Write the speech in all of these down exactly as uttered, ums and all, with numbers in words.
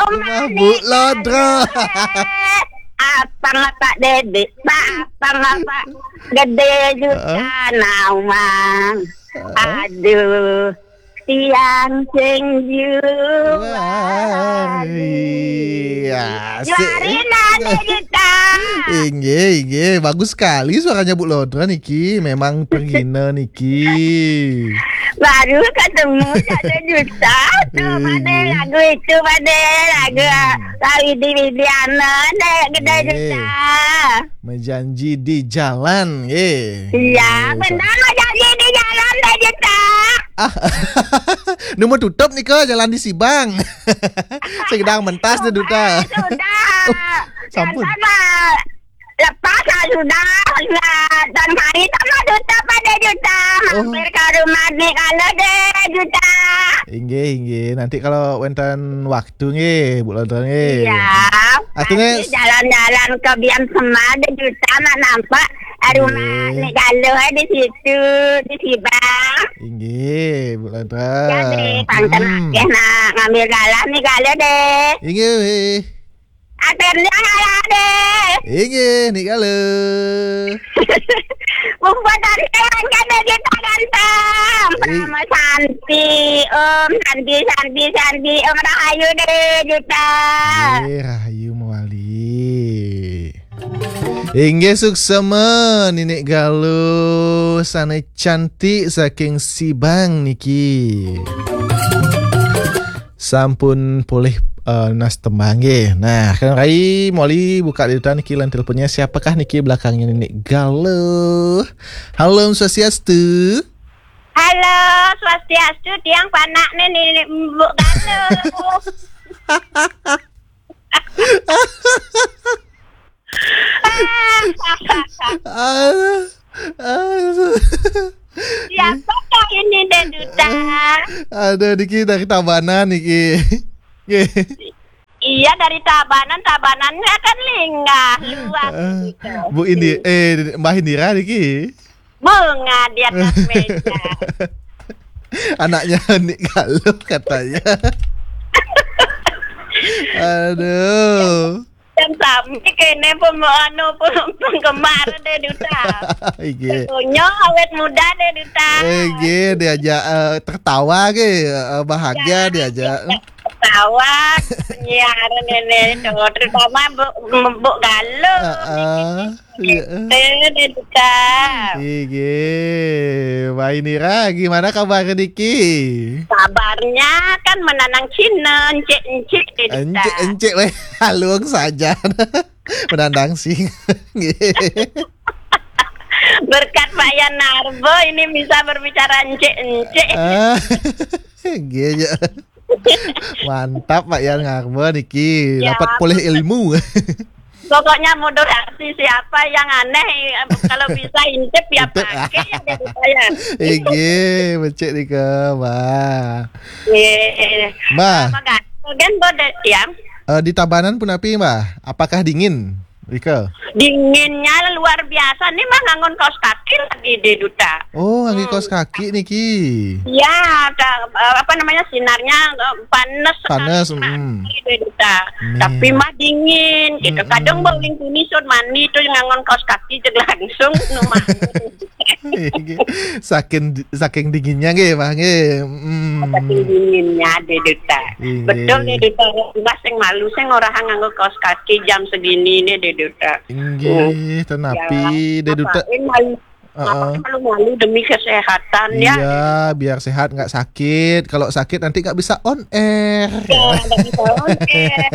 Rumah Bu Lodra. Apa ngapa dedek? Apa ngapa gede juta nawang? Aduh, tiang sing juari. Wah, iya, asik. Juari nade juta. Inggih, inggih. Bagus sekali suaranya Bu Lodra niki. Memang penggina niki. Baru ketemu satu juta. Tuh, Pak De, lagu itu, Pak De. Lagu Pak Widi Widiana, De, gede juta. Menjanji di jalan, nggih. Iya, benar, menjanji di jalan, De Juta. Ah, nu mau tutup nika jalan di Sibang. Segedang mentas, De Duta. Sudah. Oh, sampun. Sama. Lepas lah sudah. Nah, dan hari sama Duta pada Juta. Oh. Mampir ke rumah ni kalau De Juta. Inggih, inggih. Nanti kalau wenten waktu nggih, Bu Lodra nggih. Iya. Artinya nanti jalan-jalan ke Bian Sema De Juta nak nampak rumah Nik Galuh di situ, di Sibang. Inggih, Bu Lodra. Ya, De, pangkat nak ngambil galah Nik Galuh, De. Inggih. Akhirnya ngalah, De. Inggih, Nik Galuh. Bumbon dari Taiwan kan, De Juta ganteng. Sama Santi, Om, Santi, Santi, Santi, Om Rahayu, De Juta. Inggih, Rahayu mawali. Inggih, suksma Ninik Galuh, sane cantik saking Sibang niki. Sampun polih, eh, nas tembang nggih. Nah, Kang Rai, moli buka De Duta niki lan teleponnya. Siapakah niki belakangnya Ninik Galuh? Halo, Om Swastiastu. Halo, Swastiastu, tiang panak ni Ninik Mbok Galuh. Aduh, aduh. Siapakah ini, De Duta? Aduh, niki dari Tabanan niki. Nggih. Iya, dari Tabanan, Tabanannya kan linggah, luas gitu. Bu Indi, eh, Mbah Indira niki. Bunga di atas meja. Anaknya Nik Galuh katanya. Aduh. Dan sami kene pem-, anu, pem-, penggemar De Duta. Inggih. Setunya awet muda De Duta. Inggih, diajak, eh, tertawa ke, eh, bahagia diajak. Ketawa penyiaran ini tuh, terutama Bu, Bu Galuh. Heeh. Iya. Itu, De Duta. Inggih, Mbak Indira, gimana kabar niki? Kabarnya kan menanang Cina, encik-encik, De Duta. Encik-encik, weh, halung saja. Menandang sing. Nggih. Berkat Pak Yan Narbo ini bisa berbicara encik-encik. Ah, nggih, ya. Mantap, Pak Yan Narbo niki. Ya. Dapat polih ilmu. Pokoknya moderasi, siapa yang aneh, kalau bisa intip ya intip. Pakai ya, De Duta ya. Inggih, becik nika, Mbah. Nggih. Mbah. Apa kan? Bagian bodet ya? Eh, di Tabanan punapi, Mbah? Apakah dingin, Rika? Dinginnya luar biasa. Nih mah nganggon kaos kaki lagi, De Duta. Oh, nganggo kaos kaki niki. Iya, ta-, eh, apa namanya, sinarnya, eh, panas sekali, panas, panas sekali, De Duta. Tapi mah dingin gitu. Kadang bau lingkungan sun mandi tuh nganggon kaos kaki, jeg langsung nu mah. Saking, saking dinginnya nggih, Mbah, nggih. Mm. Saking dinginnya, De Duta. Inggih. Betul, De Duta. Mbah sing malu, sing ora nganggo kaos kaki jam segini nih, De Duta. Inggih, tenapi, De Duta. Ngapain malu, ngapain malu-malu demi kesehatan, ya? Iya, biar sehat, nggak sakit. Kalau sakit, nanti nggak bisa on air. Ya, nggak bisa on air.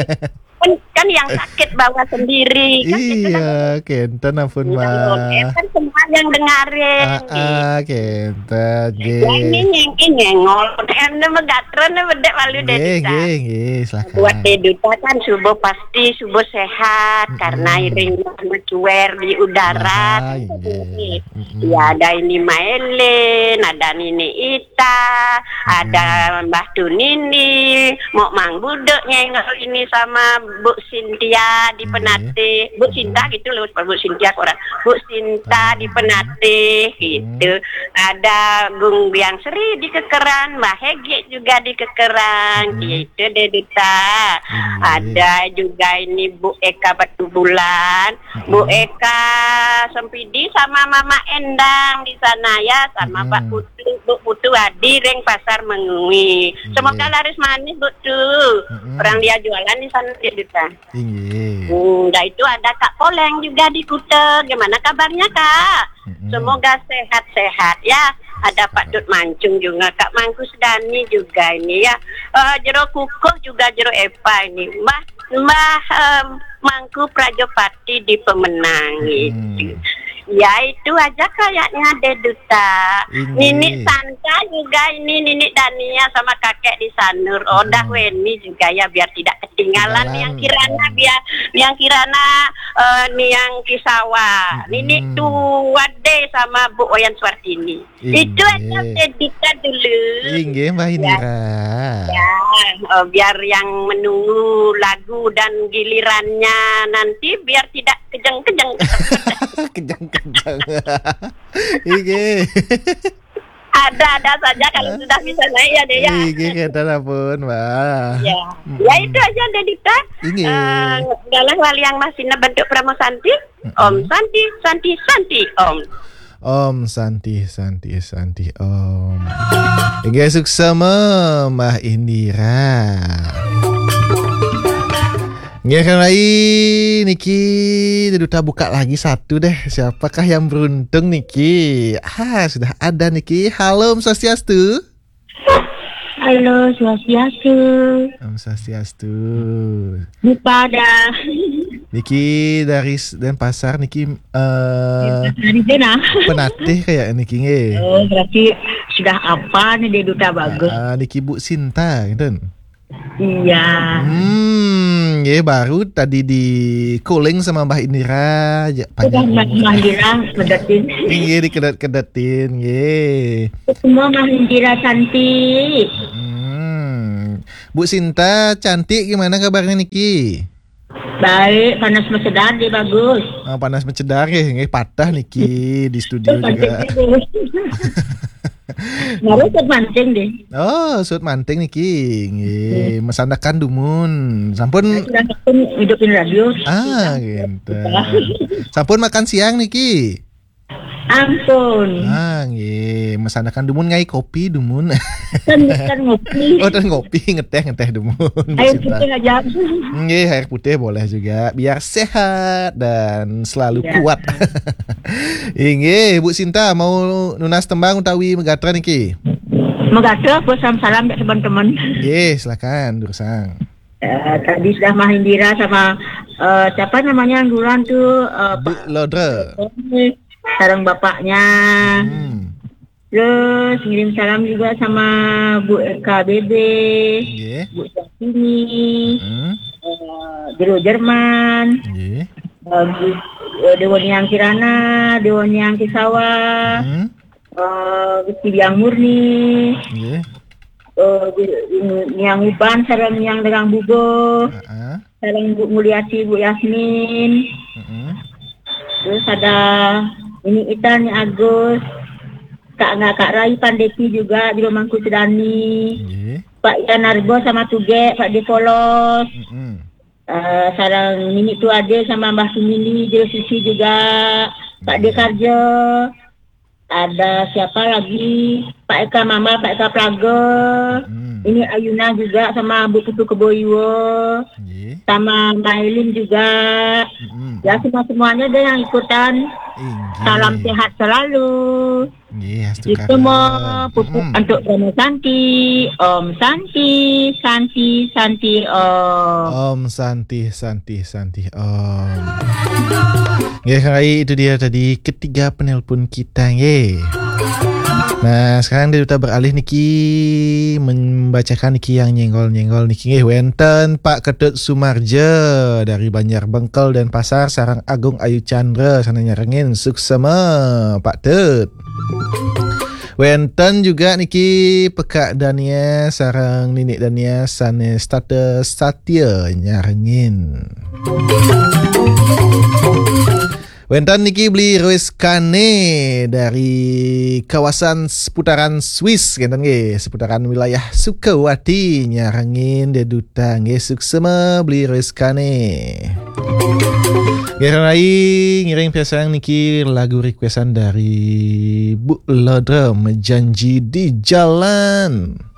Kan, kan yang sakit bawa sendiri, kan gitu kan. Iya, kenten ampun, Mbah. Kan semua yang dengarin, ah, gitu. Kenten, nggih. Ya, ini nyengki nyengol. Em, ne megatron, ne bedek malu, De Duta. Nggih, nggih, silakan. Buat De Duta kan subuh pasti subuh sehat, karena iring mencuer di udara, kan, nggih. Gitu. Mm-mm. Ya, ada ini Mailin, ada Nini Ita, ada Mbah Tunini, Mok Mang Budek nyengol ini sama Bu Sintia di Penate. Bu Sinta gitu loh, Bu Sintia orang. Bu Sinta di Penatih, hmm, gitu. Ada Gung Biang Sri di Kekeran, Mbah Hegek juga di Kekeran, hmm, gitu deh, Duta. Hmm, iya. Ada juga ini Bu Eka Batu Bulan, Bu, hmm, Eka Sempidi sama Mama Endang di sana ya, sama, hmm, Pak Putu, Bu Putu Adi ring Pasar Mengwi. Semoga, iya, laris manis, Bu, tuh. Hmm. Orang dia jualan di sana, deh, Duta. Inggih. Hmm, dah itu ada Kak Poleng juga di Kuta. Gimana kabarnya, Kak? Mm-mm. Semoga sehat-sehat ya. Ada Pak Dut Mancung juga, Kak Mangku Sedani juga ini ya. Eh, Jero Kukuh juga, Jero Epa ini. Mbah, Mbah, em, Mangku Prajopati di Pemenang, hmm, gitu. Ya, itu aja kayaknya deh, Duta. Inggih. Ninik Santa juga ini, Ninik Dania sama kakek di Sanur. Oh, dah, hmm, Weni juga ya, biar tidak ketinggalan. Ketinggalan. Niang Kirana, hmm, biar Niang Kirana, eh, Niang Kisawa. Hmm. Ninik Tuwade sama Bu Oyan Suartini. Itu aja, inggih, deh, Duta dulu. Inggih, Mbak, ya, Indira. Ya, eh, biar yang menunggu lagu dan gilirannya nanti biar tidak kejeng-kejeng. Kejeng-kejeng. Inggih. Ada-ada saja kalau sudah bisa naik ya, deh, ya. Inggih, kata ampun, Mbak. Ya. Mm-mm. Ya, itu aja, deh, Duta. Inggih. Eh, dalam hal yang masih bentuk Parama Santi, mm-mm, Om Santi, Santi, Santi, Om. Om Santi, Santi, Santi, Om. Inggih, suksma, Mbah Indira. Inggih, kan, Rai, niki Duta buka lagi satu deh. Siapakah yang beruntung niki? Ah, sudah ada niki. Halo, Om Swastiastu. Halo, Swastiastu. Om Swastiastu. Buka dah. Niki dari s-, Denpasar niki, eh, dari Denpasar. Penatih kayak niki, nggih. Oh, berarti sudah apa nih, deh, Duta bagus? Ah, ah, niki Bu Sinta, gitu. Iya. Hmm, nggih, baru tadi di-calling sama Mbah Indira, ya, sudah, panjang Mbah umur. Mbah Indira, kedetin. Nggih, dikedet-kedetin, nggih. Semua Mbah Indira cantik. Hmm. Bu Sinta cantik, gimana kabarnya niki? Baik, panas mesedar, deh, bagus. Ah, panas mesedar, nggih, nggih, patah niki di studio juga. Bagus. Baru suud manting, deh. Oh, suud manting niki. Nggih, hmm, masandekan dumun. Sampun. Nah, sudah sampun hidupin radio. Ah, gitu. Sampun makan siang niki? Ampun. Ah, nggih, masandekan dumun, ngai kopi dumun. Kan, kan ngopi. Oh, dan ngopi, ngeteh, ngeteh dumun, Bu Sinta. Air putih aja. Nggih, air putih boleh juga, biar sehat dan selalu kuat. Iya. Inggih, Bu Sinta, mau nunas tembang utawi megatra niki? Megatra, apa salam-salam dak teman-teman? Nggih, silakan, durusang. Eh, tadi sudah Mbah Indira sama, eh, siapa namanya yang duluan tuh, eh, Bu Lodra. Sareng bapaknya. Hmm. Terus ngirim salam juga sama Bu Eka Bebe, nggih, Bu Syahrini, hmm, eh, Jero Jerman, nggih, eh, Bu, eh, Dewa Niang Kirana, Dewa Niang Kisawa, hmm, eh, Gusti Biang Murni, nggih, eh, Niang Uban, sareng Niang Derang Bubo, heeh, sareng Bu Mulyati, Bu Yasmin. Mm-mm. Terus ada ini Ita, Ni Agus, Kak, nggak, Kak Rai Pandeti juga di Rumah Sudani. Nggih. Pak Ian Arbo sama Tuge, Pak De Polos. Mm-mm. Eh, sareng Nini Tuade sama Mbah Sumini, Jero Susi juga, Pak De, nggih, Karjo. Ada siapa lagi? Pak Eka Mama, Pak Eka Plaga. Hmm. Ini Ayuna juga sama Bu Putu Keboiwo. Nggih. Sama Mailin juga. Hmm. Ya, semua-semuanya deh yang ikutan. Inggih. Salam sehat selalu. Nggih, astu. Itu mau pupuk, hmm, untuk Parama Santi. Om Santi, Santi, Santi, Om. Om Santi, Santi, Santi, Om. Nggih, Kang Rai, itu dia tadi ketiga penelpon kita, nggih. Nah, sekarang dia beralih niki membacakan niki yang nyenggol-nyenggol niki, nggih, wenten Pak Ketut Sumarja dari Banjar Bengkel, Denpasar, sareng Agung Ayu Chandra sané nyarengin, suksema Pak Tut. Wenten juga niki Pekak Dania sareng Ninik Dania sané setata satia nyarengin. Wénten niki Beli Rois Kane dari kawasan seputaran Swiss, ngénten nggih, seputaran wilayah Sukawati, nyarengin deduta nggih, suksema Beli Rois Kane. Nggih, rai ngiring piasan niki lagu requestan dari Bu Lodrem, Janji di Jalan.